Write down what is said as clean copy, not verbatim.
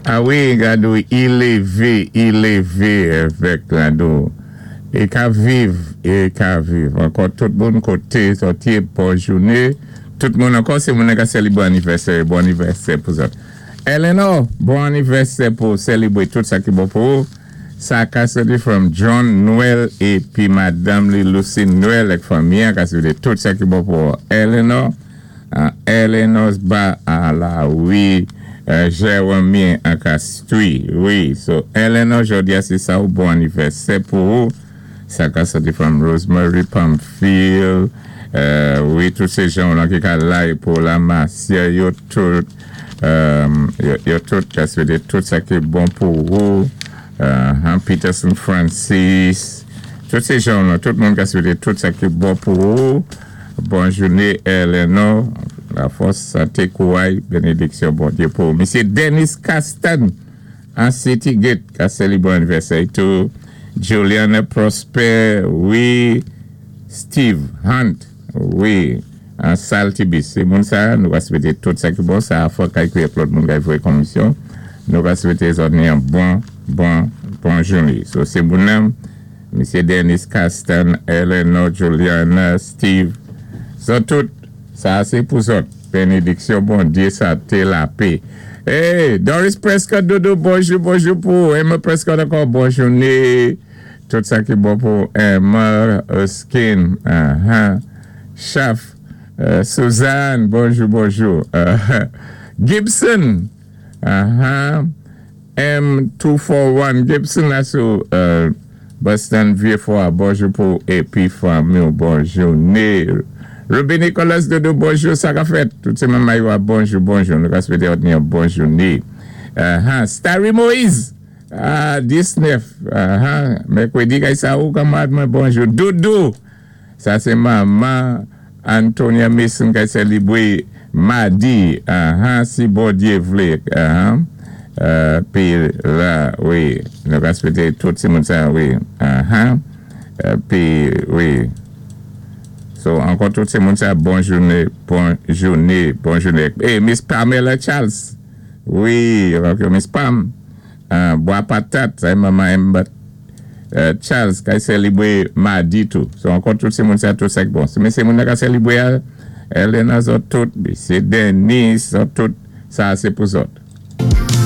A wi, gadou, i lévé, i lévé avèk gadou. I ka viv, i ka viv. Ankò tout moun koté sòti, bon jouné. Tout moun ankò, sé moun ka sélibwé anivèsè, bon anivèsè pou zòt. Eleanor, bon anivèsè pou sélibwé tout sa ki bon pou ou. Sa ka sòti from John Noël épi madanm li Lucy Noël ak fanmi ka swété tout sa ki bon pou Eleanor. Eleanor ba a la wi Jeremy an Castries. Wi, so Eleanor, jòdi a sé sa ou bon anivèsè pou ou. Sa ka sòti from Rosemary Pamphile. Wi, tout sé jan lan ki ka lay pou la Marcia, yo tout yo tout ka swété tout sa ki bon pou ou. Peterson Francis. Tout sé jan lan, tout moun ka swété tout sa ki bon pou ou. Bon jouné, Eleanor. La fòs, santé, kouray, bénédiksyon, Bondyé pou ou. Misyé Dennis Castan, an City Gate, ka sélibwé anivèsè tou. Juliana Prosper, wi. Steve Hunt, wi. An Saltibus. Sé moun sa, nou va swété tout sa ki bon. Sa a fò kay kouye lòt moun kay voyé komisyon. Nou va swété zòt ni an bon, bon, bon jouné. So, sé moun nan, Misyé Dennis Castan, Eleanor, Juliana, Steve. Zòt tout, sa sé pou zòt. Bénédiksyon, Bondyé, santé, lapè. Hey, Doris Prescott, Dodo, bonjou, bonjou pou Emma Prescott ankò, bon jouné. Tout sa ki bon pou Emma Erskine, Chaf, Suzanne, bonjou, bonjou. Gibson, M241, Gibson la sou Boston Vieux-Fort, bonjou pou épi fanmi, bon jouné. Ruby Nicholas Dodo, bonjou, sa ka fèt. Tout sé manman yo, bonjou, bonjou. Nou ka swété bon jouné. Starry Moïse, ah, 19, mèkwédi kay sa ou kanmarad mwen, bonjou. Doudou, sa sé manman Antonia Mason kay sélibwé madi, si Bondyé vlé. Pi la, wi, nou ka swété tout ti moun sa, wi. Pi, wi. So, ankò tout ti moun sa, bon jouné, bon jouné, bon jouné. Eh, Miss Pamela Charles. Wi, Miss Pam. Bwa patat, sa manman Emma Charles kay sélibwé madi tou. So, ankò tout ti moun sa, tout sa bon. Si sé moun ka sélibwé, Elena zòt tout, sé Dennis, zòt tout, sa sé pou zòt.